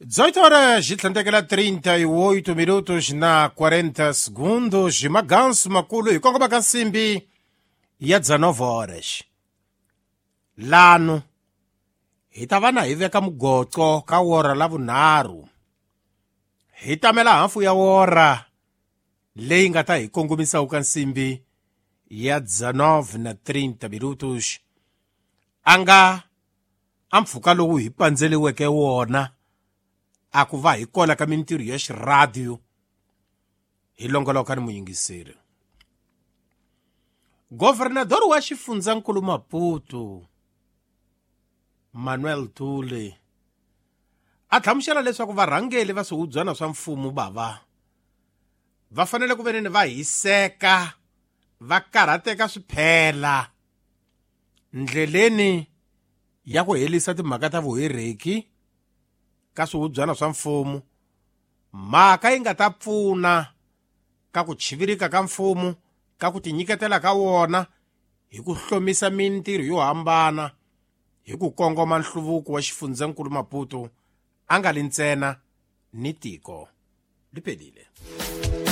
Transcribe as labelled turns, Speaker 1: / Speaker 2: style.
Speaker 1: 18 horas e tlhandlekela 38 minutos na 40 segundos. Magansu makulu hi kongoma ka nsimbi ya 19 horas. Lano hi ta va na hi veka mugoco ka wora la vunharhu. Hi tamela hafu ya wora leyi nga ta hi kongomisa ka nsimbi ya 19 na 30 minutos. A nga a mpfhuka lowu hi pandzeliweke wona a ku va hi kona ka mintirho ya xiradiyo hi longoloka ni muyingiseri. Governador wa xifundzankulu Maputo Manuel Tule a hlamusela leswaku varhangeli va swihubyana swa mfumo bava va fanele ku veneni va hiseka va karhateka swiphela ndleleni ya ku herisa timhaka ta vuhereki ka swihubyana swa mfumo, mhaka yi nga ta pfuna ka ku chivirika ka mfumo ka ku tinyiketela ka wona hi ku hlomisa mintirho yo hambana hi ku kongoma nhluvuko wa xifundzankulu Maputo a nga li ntsena ni tiko liphelile.